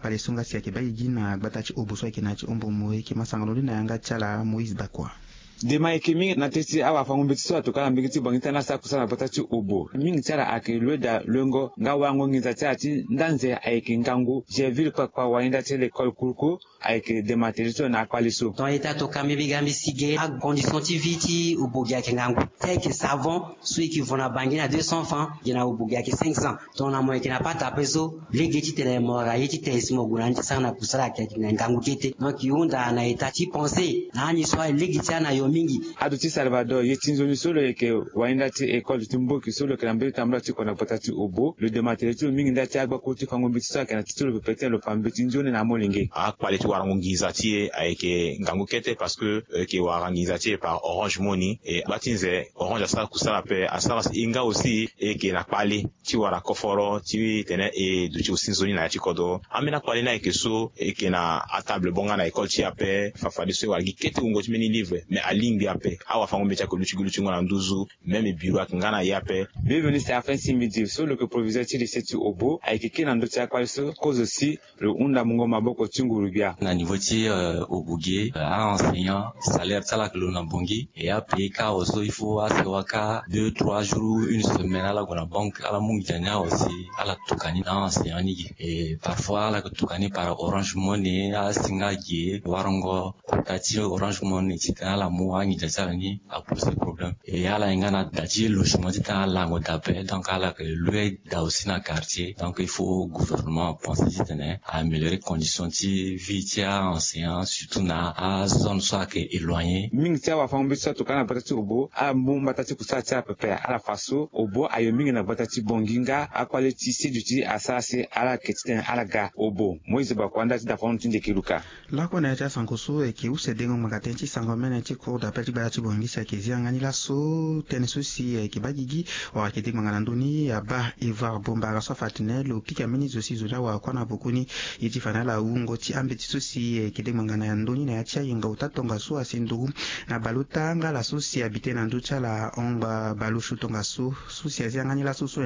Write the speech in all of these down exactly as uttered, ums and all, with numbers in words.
Kpale so nga si ayeke baa gigi na gbata ti Obo so ayeke na ya ti Ombo Moe, e yeke ma sangolo ni na yanga ti ala Moïse Bakua. Dema ayeke mingi na teti awafango-mbeti so atokua na mbege ti Bangui ti tene asara kusala na gbata ti Obo. Mingi ti ala ayeke lue daa luengo nga warango nginza ti ala ti nda nze ayeke ngangu. Gerville Kpakpa, wayenda ti lekole kuruku, ayeke dema tere ti lo na akpale so. Ton ita to kambi bigambi si ge acondition ti vie ti Obo ge ayeke ngangu. Ti ayeke savon so e yeke vo na Bangui na deux cents francs, ge na Obo ge ayeke cinq cents. Tongana mo yeke na pata ape so, lege titene mo wara ye ti tene si mo gue na ni ti sara na kusala ayeke na ngangu kete. Donc e hunda na état ti pense na ani so alege ti ana yo mingi. Ado ti Salvador, ye ti nzoni so lo yeke wayenda ti école ti mboki so lo yeke na mbeni tambula ti kua na gbata ti Obo, lo dema tere ti lo mingi nda ti agbakuru ti fango mbeti so ayeke na ti ti lo pepe titene lo fa mbeti nzoni na amolenge. Akpale ti warango nginza ti e ayeke ngangu kete parce que e yeke wara nginza ti e par Orange Money. E gba ti nze Orange asara kusala ape, asara si e nga aussi e yeke na kpale ti wara koforo titene e duti aussi nzoni na ya ti kodro. Ambeni akpale ni ayeke so e yeke na atable bonga na école ti e ape, fafadeso e wara gi kete wungo ti mbeni livre, mais alingbi ape. Awafango-mbeti ayeke luti gi lutingo na nduzu, même biro ayeke nga na ye ape. Bienvenu Serafin Simidi so lo yeke proviseur ti lycée ti Obo ayeke kiri na ndö ti akpale so kozo si lo hunda mungo maboko ti nguru-gbia. Na niveau ti, euh, Obo ge, euh, a-enseignant, salaire ti ala ayeke lo na Bangui. E ape kâ awe so il faut asewa kâ deux trois jours, une semaine, ala gue na banque, ala mu nginza ni awe si ala tuka ni na a-enseignant ni ge. E parfois ala yeke tuka ni par Orange Money, asinga ge, warango kota ti Orange Money titene ala mu anginza ti ala ni apose problème. E ala hinga na da ti logement titene ala lango da ape, donc ala yeke lue da aussi na quartier. Donc il faut gouvernement apenser titene a améliorer condition ti vie ti a-enseignant, surtout na azone so ayeke éloigné. Mingi ti awafango-mbeti so atokua na gbata ti Obo amu mbata ti kusala ti ala pepe. Ala fa so Obo ayo mingi na gbata ti Bangui nga akpale ti seduti asara si ala yeke titene ala ga Obo. Moïse Bakua, nda ti dafango ti Ndeke Luka. Lakue na ya ti asango so e yeke use dengo ngbanga tënë ti sango mene ti cour d'appel ti gbata ti Bangui si ayeke zi yanga ni laso tënë so si e yeke baa gigi wala ayeke de ngbanga na ndö ni abaa Evar Bombara so afa atene lo pika mbeni zo si zo ni awara kua na boko ni. Ye ti fa na ala wungo ti ambeti so si e yeke de ngbanga na ndö ni na ya ti ayenga ota tongaso asi nduru na baleota nga ala so si abi tënë na ndö ti ala ahon baleoso tongaso so si azi yanga ni laso so.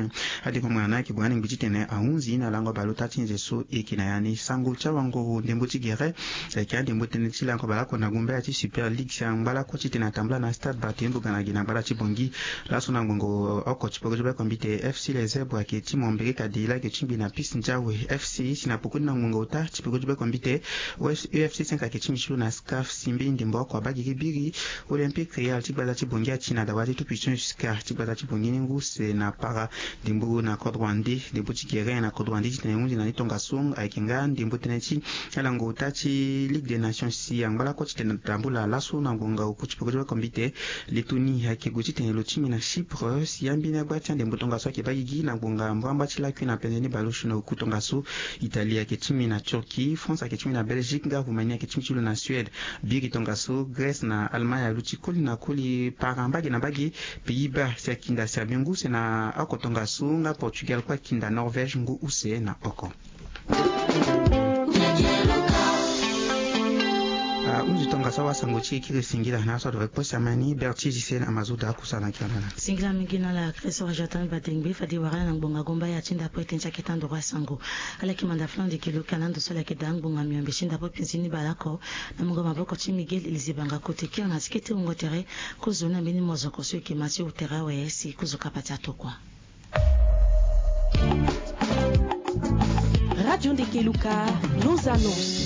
Adengo ngbanga ni ayeke gue na ni ngbi titene ahunzi na lango baleota ti nze so e yeke na ya ni. Sango ti awanguru ndembo ti gere ayeke andembo tënë ti lango baleoko na gumba ya ti Super League si angba lakue titene atambula na stade Barthélemy Bogana gi na gbata ti Bangui. Laso na ngbongo oko ti peko ti beko mbi te F C Les Zèbres ayeke ti mo mbege kadi la ayeke ti ngbi na Piste Ndiawe. F C si na poko ni na ngbongo ota ti peko ti beko mbi te U F C cinq ayeke ti mbi ti lo na SCAF si mbeni ndembo oko abaa gigi biri. Olympique Real ti gbata ti Bangui ati na dawa ti tout puissant jusqu'à ti gbata ti Bangui ni ngu use na para. Ndembo na kodro ande, ndembo ti gere na kodro ande titene e hunzi na ni tongaso ayeke nga ndembo tënë ti alango ota ti Ligue des Nations si angba lakue titene atambula laso na ngbonga oku ti peko ti beko mbi te. Lettonie ayeke gue titene lo ti mbi na Chypre si ambeni agba ti andembo tongaso ayeke baa gigi na ngbonga mbamba ti lakui na penze ni baleoso na oku tongaso. Italie ayeke ti mbi na Turquie, France ayeke ti mbi na Belgique nga Roumanie ayeke ti mbi ti lo na Suède. Biri tongaso Grèce na Allemagne aluti koli na koli para mbage na mbage. Pays-Bas si akinda si abi ngu use na oko tongaso nga Portugal kue akinda Norvège ngu use na oko. Ahunzi tongaso awasango ti e kiri singila na aso adore kue si amani Berti Gisèle Amazoda akusana kiana. Singila mingi na ala Christ Rajatan Badengbe fade wara ala na ngbonga gomba ya ti ndapo ete ti aketa ndoro asango. Ala yeke manda fana ndeke luka na ndo so ala yeke daa ngbonga miombe ti ndapo pinzi ni baleoko. Na mungo maboko ti Miguel Elizebanga kote kiri na ti kete wungo tere. Kozo na mbeni mozoko so e yeke ma ti wu tere awe si kozo kapa ti atokua. Radio Ndeke Luka, nos annonces.